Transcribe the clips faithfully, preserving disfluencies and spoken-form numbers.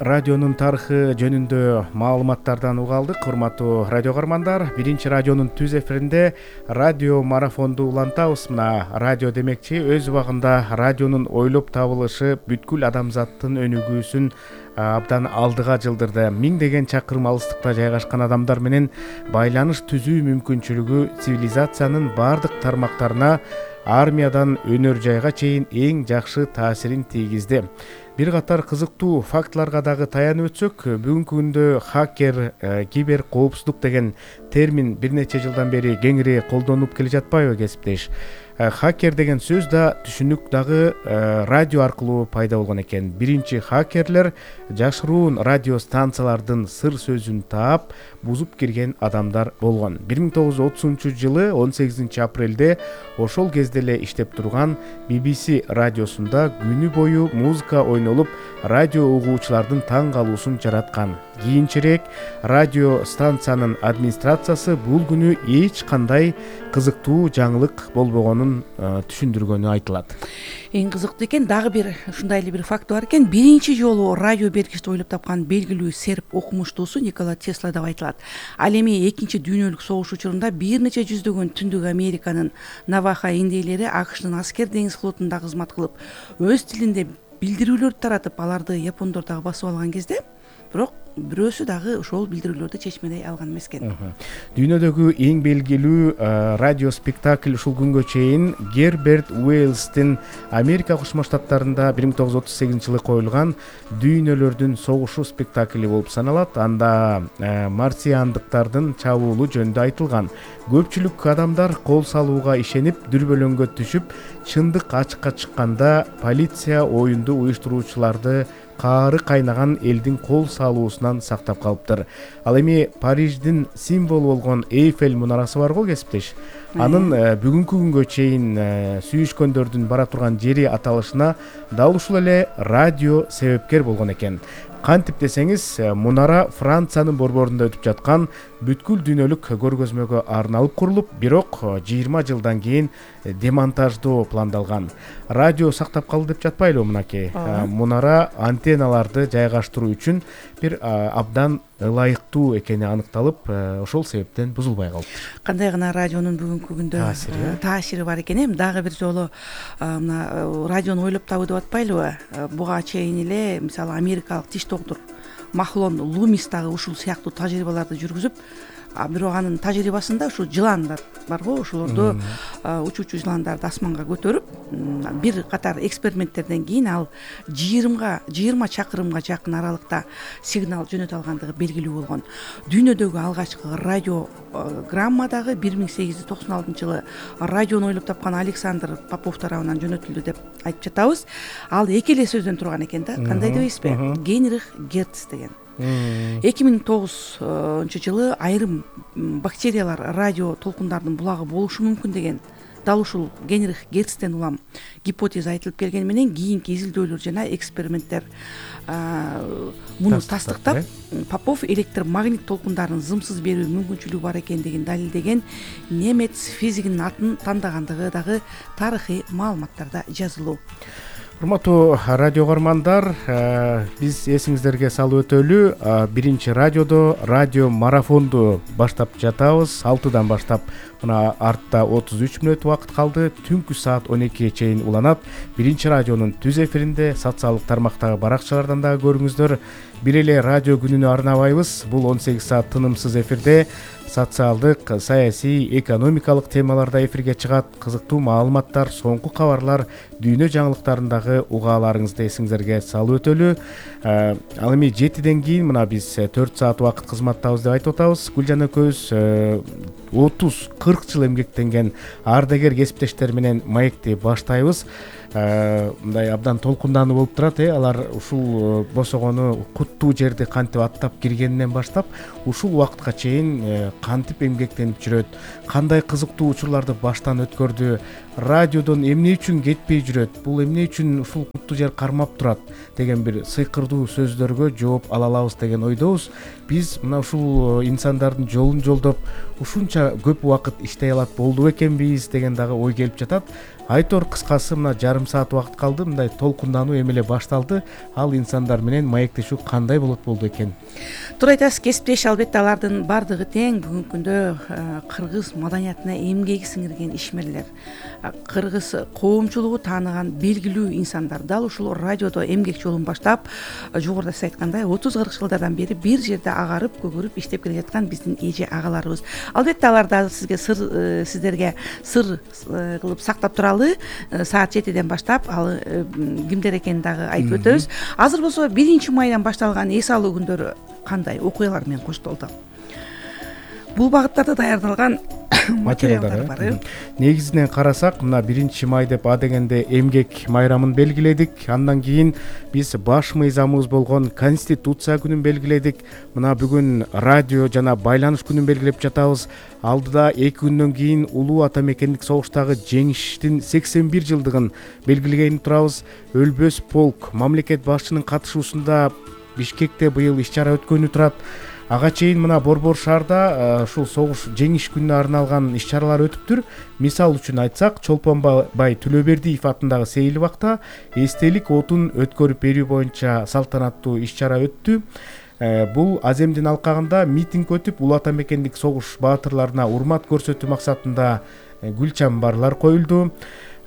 радионун тарыхы жөнүндө маалыматтардан уга алдык. Урматтуу радио каармандар, биринчи радионун түз эфиринде радио марафонду улантабыз. Мына радио демекчи өз убагында радионун ойлоп табылышы бүткүл адамзаттын өнүгүүсүн абдан алдыга жылдырды. Миңдеген чакырым алыстыкта жайгашкан адамдар менен байланыш түзүү мүмкүнчүлүгү цивилизациянын бардык тармактарына, армиядан өнөр жайга чейин эң жакшы таасирин тийгизди. Бир катар кызыктуу фактыларга дагы таянып өтсөк, бүгүнкү күндө хакер, кибер коопсуздук деген термин бир нече жылдан бери кеңири колдонуп келе жатпайбы кесиптеш? Хакер деген сөз да түшүнүк дагы радио аркылуу пайда болгон экен. Биринчи хакерлер жашыруун радио станциялардын сыр сөзүн таап, бузуп кирген адамдар болгон. бир миң тогуз жүз отузунчу жылы он сегизинчи апрелде ошол кезде эле иштеп турган би би си радиосунда күнү бою музыка ойнолуп, радио угуучулардын таң калуусун жараткан. Кийинчерээк радио станциянын администрациясы бул күнү эч кандай кызыктуу жаңылык болбогонун түшүндүргөнү айтылат. Эң кызыктуу экен, дагы бир ушундай эле бир факт бар экен. Биринчи жолу радио бергичти ойлоп тапкан белгилүү серб окумуштуусу Никола Тесла деп айтылат. Ал эми экинчи дүйнөлүк согуш учурунда бир нече жүздөгөн Түндүк Американын Наваха индейлери АКШнын аскер деңиз флотунда кызмат кылып, өз тилинде билдирүүлөрдү таратып, аларды япондор дагы басып алган кезде, бирок бирөөсү дагы ошол билдирүүлөрдү чечмедей алган эмес экен. Дүйнөдөгү эң белгилүү радио спектакль ушул күнгө чейин Герберт Уэллстин Америка Кошмо Штаттарында бир миң тогуз жүз отуз сегизинчи жылы коюлган Дүйнөлөрдүн согушу спектакли болуп саналат. Анда марсиандыктардын чабуулу жөнүндө айтылган. Көпчүлүк адамдар кол салууга ишенип, дүрбөлөңгө түшүп, чындык ачыкка чыкканда полиция оюнду уюштуруучуларды каары кайнаган элдин кол салуусунан сактап калыптыр. Ал эми Париждин символу болгон Эйфель мунарасы бар го кесиптеш. Анын бүгүнкү күнгө чейин сүйүшкөндөрдүн бара турган жери аталышына дал ушул эле радио себепкер болгон экен. Кантип десеңиз, мунара Франциянын борборунда өтүп жаткан бүткүл дүйнөлүк көргөзмөгө арналып курулуп, бирок жыйырма жылдан кийин демонтаждоо пландалган. Радио сактап калды деп жатпайлыбы мынакей? Мунара антенналарды жайгаштыруу үчүн бир абдан ылайыктуу экени аныкталып, ошол себептен бузулбай калды. Кандай гана радионун бүгүнкү күндө таасири бар экен. Эми дагы бир жолу мына радиону ойлоп табуу деп атпайлыбы? Буга чейин эле мисалы америкалык тиш доктур Махлон Лумис дагы ушул сыяктуу тажрыйбаларды жүргүзүп, бирок анын тажрыйбасында ушу жыландар бар го, ошолорду учуучу жыландарды асманга көтөрүп, бир катар эксперименттерден кийин ал жыйырмага жыйырма чакырымга жакын аралыкта сигнал жөнөтө алгандыгы белгилүү болгон. Дүйнөдөгү алгачкы радиограмма дагы бир миң сегиз жүз токсон алтынчы жылы радиону ойлоп тапкан Александр Попов тарабынан жөнөтүлдү деп айтып жатабыз. Ал эки эле сөздөн турган экен да. Кандай дебейсизби? Генрих Герц деген. эки миң тогузунчу жылы айрым бактериялар радио толкундардын булагы болушу мүмкүн деген дал ушул Генрих Герцтен улам гипотеза айтылып келгени менен кийинки изилдөөлөр жана эксперименттер муну тастыктап, Попов электромагнит толкундарын зымсыз берүү мүмкүнчүлүгү бар экендигин далилдеген немец физигинин атын тандагандыгы дагы тарыхый маалыматтарда жазылуу. Урматтуу радио каармандар, биз эсиңиздерге салып өтөлү, биринчи радиодо радио марафонду баштап жатабыз. алтыдан баштап мына артта отуз үч мүнөт убакыт калды. Түнкү саат он экиге чейин уланат. Биринчи радионун түз эфиринде социалдык тармактагы баракчалардан дагы көрүңүздөр. Бир эле радио күнүнө арнабайбыз. Бул он сегиз саат тынымсыз эфирде социалдык, саясий, экономикалык темаларда эфирге чыгат. Кызыктуу маалыматтар, соңку кабарлар, дүйнө жаңылыктарындагы угааларыңызды эсиңиздерге салып өтөлү. Ал эми жетиден кийин мына биз төрт саат убакыт кызматтабыз деп айтып атабыз. Гүлжан экөөбүз отуз кырк жыл эмгектенген ардагер кесиптештер менен маекти баштайбыз. Мындай абдан толкундануу болуп турат, э алар ушул босогону куттуу жерди кантип аттап киргенинен баштап ушул убакытка чейин кантип эмгектенип жүрөт, кандай кызыктуу учурларды баштан өткөрдү, радиодон эмне үчүн кетпей жүрөт, бул эмне үчүн ушул куттуу жер кармап турат деген бир сыйкырдуу сөздөргө жооп ала алабыз деген ойдобуз. Биз мына ушул инсандардын жолун жолдоп ушунча көп убакыт иштей алат болду экенбиз деген дагы ой келип жатат. Айтор, кыскасы мына жарым саат убакыт калды, мындай толкундануу эми эле башталды. Ал инсандар менен маектешүү кандай болот болду экен? Туура айтасыз, кесиптеш албетте алардын баардыгы тең бүгүнкү күндө кыргыз маданиятына эмгеги сиңирген ишмерлер, кыргыз коомчулугу тааныган белгилүү инсандар. Дал ушул радиодо эмгек жолун баштап, жогоруда сиз айткандай отуз кырк жылдардан бери бир жерде агарып көгөрүп иштеп келе жаткан биздин эже агаларыбыз. Албетте аларды сизге сыр сиздерге сыр кылып сактап туралы, саат жетиден баштап ал кимдер экенин дагы айтып өтөбүз. Азыр болсо биринчи майдан башталган эс алуу күндөрү кандай окуялар менен коштолду? Бул багыттарда даярдалган материалдар бар. Негизинен карасак, мына биринчи май деп а дегенде эмгек майрамын белгиледик. Андан кийин биз баш мыйзамыбыз болгон Конституция күнүн белгиледик. Мына бүгүн радио жана байланыш күнүн белгилеп жатабыз. Алдыда эки күндөн кийин улуу ата мекендик согуштагы жеңиштин сексен бир жылдыгын белгилеген турабыз. Өлбөс полк мамлекет башчынын катышуусунда Бишкекте быйыл иш-чара өткөнү турат. Ага чейин мына Борбор шаарда ушул согуш жеңиш күнүнө арналган иш-чаралар өтүптүр. Мисал үчүн айтсак, Чолпонбай Төлөбердиев атындагы Сейил бакта эстелик отун өткөрүп берүү боюнча салтанаттуу иш-чара өттү. Бул Аземдин алкагында митинг өтүп, улуу ата мекендик согуш баатырларына урмат көрсөтүү максатында гүл чамбарлар коюлду.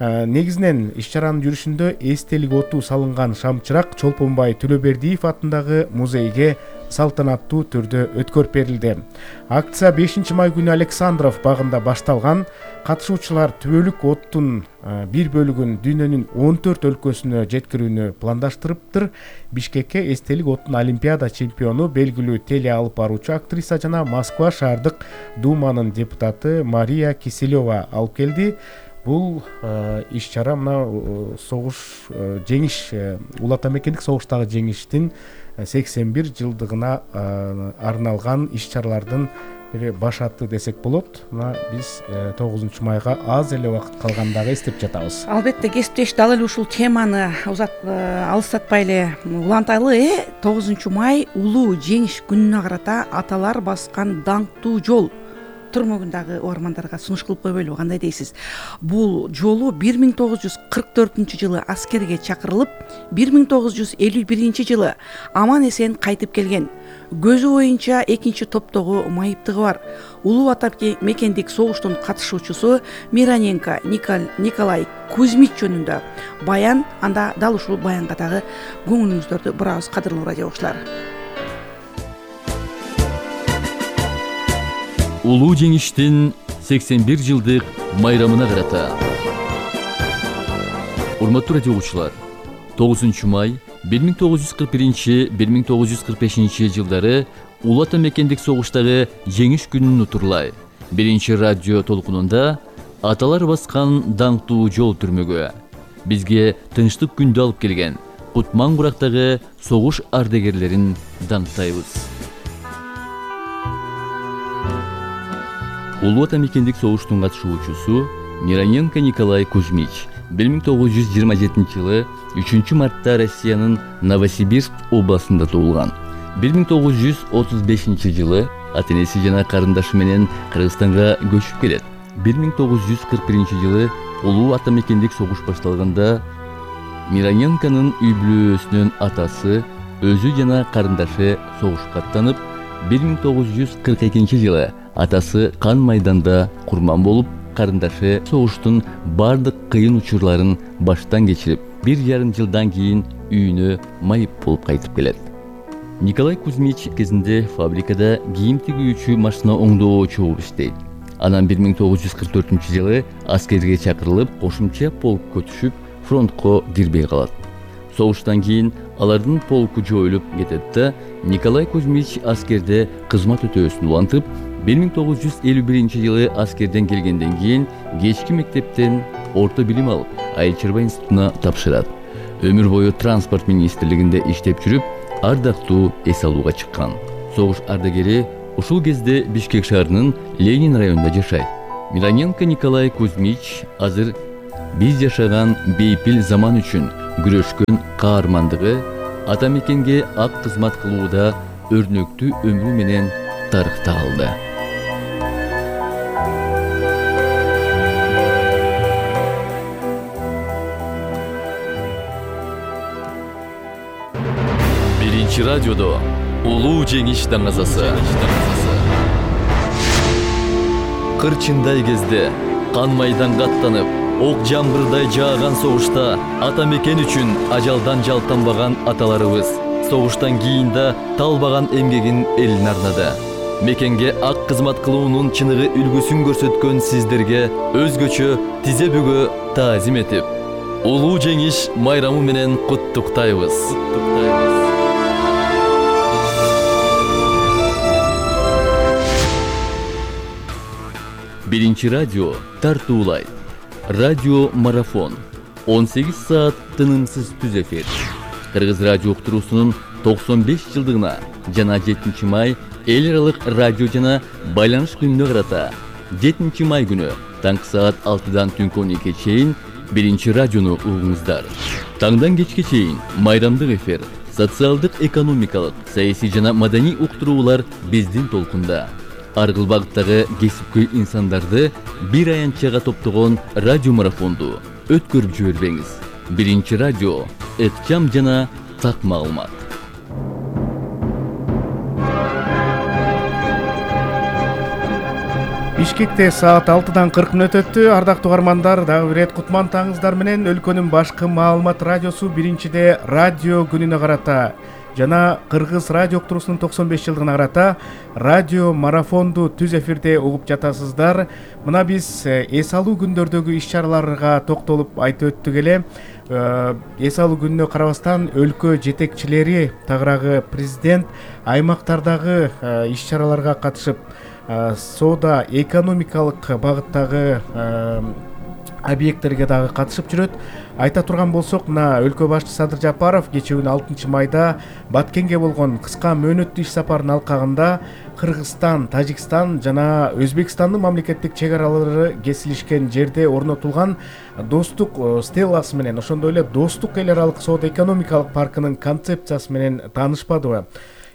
Негизинен иш-чаранын жүрүшүндө эстелик оту салынган шамчырак Чолпонбай Төлөбердиев атындагы музейге салтанаттуу түрдө өткөрүп берилди. Акция бешинчи май күнү Александров багында башталган. Катышуучулар түбөлүк оттун бир бөлүгүн дүйнөнүн он төрт өлкөсүнө жеткирүүнү пландаштырыптыр. Бишкекке эстелик оттун Олимпиада чемпиону, белгилүү теле алып баруучу актриса жана Москва шаардык думанын депутаты Мария Киселева алып келди. Бул иш-чара мына согуш жеңиш, улуу ата мекендик согуштагы жеңиштин сексен бир жылдыгына арналган иш-чаралардын бири баш аты десек болот. Мына биз тогузунчу майга аз эле убакыт калгандагы эстеп жатабыз. Албетте кесиптеш дал эле ушул теманы узат алыстатпай эле уланталы. э тогузунчу май улуу жеңиш күнүнө карата аталар баскан даңктуу жол түрмөгүндагы угармандарга сунуш кылып койбойлу, кандай дейсиз? Бул жолу бир миң тогуз жүз кырк төртүнчү жылы аскерге чакырылып, бир миң тогуз жүз элүү биринчи жылы аман эсен кайтып келген. Көзү боюнча экинчи топтогу майыптыгы бар. Улуу ата мекендик согуштун катышуучусу Мироненко Николай Кузьмич жөнүндө баян, анда дал ушул баянга дагы көңүлүңүздөрдү бурабыз, кадырлуу радио окуучулар. Улуу жеңиштин сексен бир жылдык майрамына карата. Урматтуу радио окуучулар, тогузунчу май бир миң тогуз жүз кырк биринчи — бир миң тогуз жүз кырк бешинчи жылдары улуу ата мекендик согуштагы жеңиш күнүн утурлай биринчи радио толкунунда аталар баскан даңктуу жол түрмөгү бизге тынчтык күндү алып келген Кутман Бурактагы согуш ардагерлерин даңктайбыз. Улуу ата мекендик согуштун катышуучусу Мироненко Николай Кузьмич бир миң тогуз жүз жыйырма жетинчи жылы үчүнчү мартта Россиянын Новосибирск областында туулган. бир миң тогуз жүз отуз бешинчи жылы ата-энеси жана карындашы менен Кыргызстанга көчүп келет. бир миң тогуз жүз кырк биринчи жылы улуу ата мекендик согуш башталганда Мироненконун үй бүлөсүнүн атасы, өзү жана карындашы согушка аттанып, бир миң тогуз жүз кырк экинчи жылы атасы кан майданда курман болуп, карындашы согуштун бардык кыйын учурларын баштан кечирип, бир жарым жылдан кийин үйүнө майып болуп кайтып келет. Николай Кузьмич кезинде фабрикада кийим тигүүчү машина оңдоочу болуп иштейт. Анан бир миң тогуз жүз кырк төртүнчү жылы аскерге чакырылып, кошумча полкко түшүп, фронтко кирбей калат. Согуштан кийин алардын полку жоюлуп кетет да, Николай Кузьмич аскерде кызмат өтөөсүн улантып, бир миң тогуз жүз элүү биринчи жылы аскерден келгенден кийин кечки мектептен орто билим алып, айыл чарба институтуна тапшырат. Өмүр бою транспорт министрлигинде иштеп жүрүп, ардактуу эс алууга чыккан. Согуш ардагери ушул кезде Бишкек шаарынын Ленин районунда жашайт. Мироненко Николай Кузьмич азыр биз жашаган бейпил заман үчүн күрөшкөн каармандыгы, ата мекенге ак кызмат кылууда өрнөктүү өмүрү менен тарыхта калды. Биринчи радиодо улуу жеңиш даңазасы. Кырчындай кезде кан майданга аттанып, ок жамбырдай жааган согушта ата мекен үчүн ажалдан жалтанбаган аталарыбыз согуштан кийин да талбаган эмгегин элине арнады. Мекенге ак кызмат кылуунун чыныгы үлгүсүн көрсөткөн сиздерге өзгөчө тизе бүгө таазим этип, улуу жеңиш майрамы менен куттуктайбыз. Биринчи радио тартуулайт. Радио марафон. он сегиз саат тынымсыз түз эфир. Кыргыз радио уктуруусунун токсон беш жылдыгына жана жетинчи май эл аралык радио жана байланыш күнүнө карата жетинчи май күнү таңкы саат алтыдан түнкү он экиге чейин биринчи радиону угуңуздар. Таңдан кечке чейин майрамдык эфир, социалдык, экономикалык, саясий жана маданий уктуруулар биздин толкунда. Ар кыл багыттагы кесипкөй инсандарды бир аянтчага топтогон радио марафонду өткөрүп жибербеңиз. Биринчи радио, ыкчам жана так маалымат. Бишкекте саат алтыдан кырк мүнөт өттү. Ардактуу угармандар, дагы бир рет кутман таңыңыздар менен өлкөнүн башкы маалымат радиосу биринчиде радио күнүнө карата жана Кыргыз радио уктуруусунун токсон беш жылдыгына карата радио марафонду түз эфирде угуп жатасыздар. Мына биз эс алуу күндөрдөгү иш-чараларга токтолуп айтып өттүк эле. Эс алуу күнүнө карабастан өлкө жетекчилери, тагыраагы президент аймактардагы иш-чараларга катышып, соода экономикалык багыттагы объекттерге дагы катышып жүрөт. Айта турган болсок, мына өлкө башчысы Садыр Жапаров кечээ күнү алтынчы майда Баткенге болгон кыска мөөнөттүү иш сапарынын алкагында Кыргызстан, Тажикстан жана Өзбекстандын мамлекеттик чек аралары кесилишкен жерде орнотулган достук стелласы менен, ошондой эле достук эл аралык соода экономикалык паркынын концепциясы менен таанышпадыбы?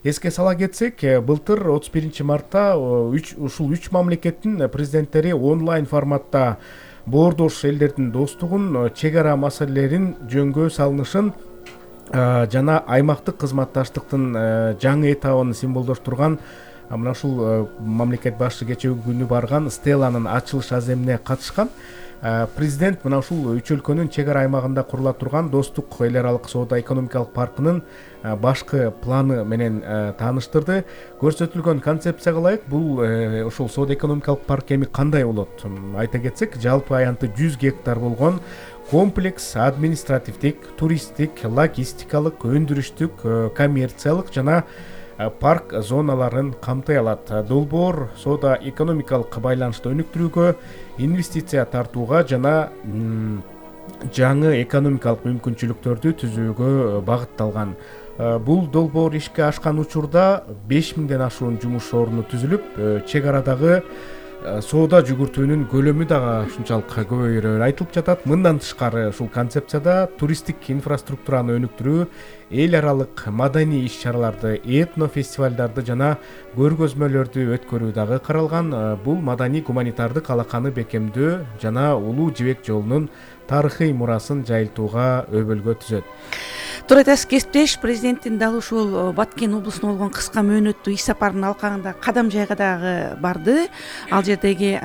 Эске сала кетсек, былтыр отуз биринчи мартта ушул үч мамлекеттин президенттери онлайн форматта боордош элдердин достугун, чек ара маселелерин жөнгө салынышын жана аймактык кызматташтыктын жаңы этабын символдоштурган мына ушул мамлекет башчысы кечээ күнү барган стелланын ачылыш аземине катышкан. Президент мына ушул үч өлкөнүн чек ара аймагында курула турган достук эл аралык соода экономикалык паркынын башкы планы менен тааныштырды. Көрсөтүлгөн концепцияга ылайык бул ушул соода экономикалык парк эми кандай болот? Айта кетсек, жалпы аянты жүз гектар болгон комплекс административдик, туристтик, логистикалык, өндүрүштүк, коммерциялык жана парк зоналарын камтый алат. Долбоор соода экономикалык байланышты өнүктүрүүгө, инвестиция тартууга жана жаңы экономикалык мүмкүнчүлүктөрдү түзүүгө багытталган. Бул долбоор ишке ашкан учурда беш миңден ашуун жумуш орну түзүлүп, чек арадагы соода жүгүртүүнүн көлөмү дагы ушунчалык көбөйөрү айтылып жатат. Мындан тышкары ушул концепцияда туристтик инфраструктураны өнүктүрүү, эл аралык маданий иш-чараларды, этно фестивалдарды жана көргөзмөлөрдү өткөрүү дагы каралган. Бул маданий гуманитардык алаканы бекемдөө жана улуу жибек жолунун тарыхый мурасын жайылтууга өбөлгө түзөт. Туура айтасыз, кесиптеш, президенттин дал ушул Баткен облусуна болгон кыска мөөнөттүү иш сапарынын алкагында кадам жайга дагы барды. Ал жердеги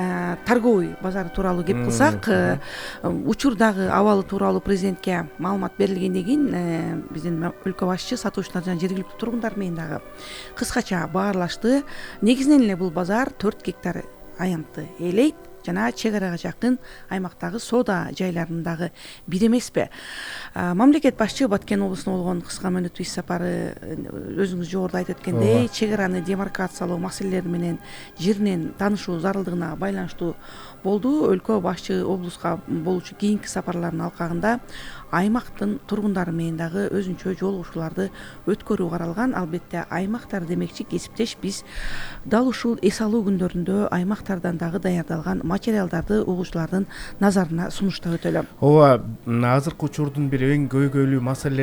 торговый базар тууралуу кеп кылсак, учурдагы абалы тууралуу президентке маалымат берилгенден кийин биздин өлкө башчы сатуучулар жана жергиликтүү тургундар менен дагы кыскача баарлашты. Негизинен эле бул базар төрт гектар аянтты ээлейт жана чек арага жакын аймактагы соода жайларындагы бир эмеспи? Мамлекет башчы Баткен облусуна болгон кыска мөөнөттүү иш сапары өзүңүз жогоруда айтып өткөндөй, чек араны демаркациялоо маселелери менен жеринен таанышуу зарылдыгына байланыштуу болду. Өлкө башчы облуска болуучу кийинки сапарларынын алкагында аймактын тургундары менен дагы өзүнчө жолугушууларды өткөрүү каралган. Албетте аймактар демекчи, кесиптеш, биз дал ушул эс алуу күндөрүндө аймактардан дагы даярдалган материалдарды угуучулардын назарына сунуштап өтөлү. Ооба, азыркы учурдун бир эң көйгөйлүү маселе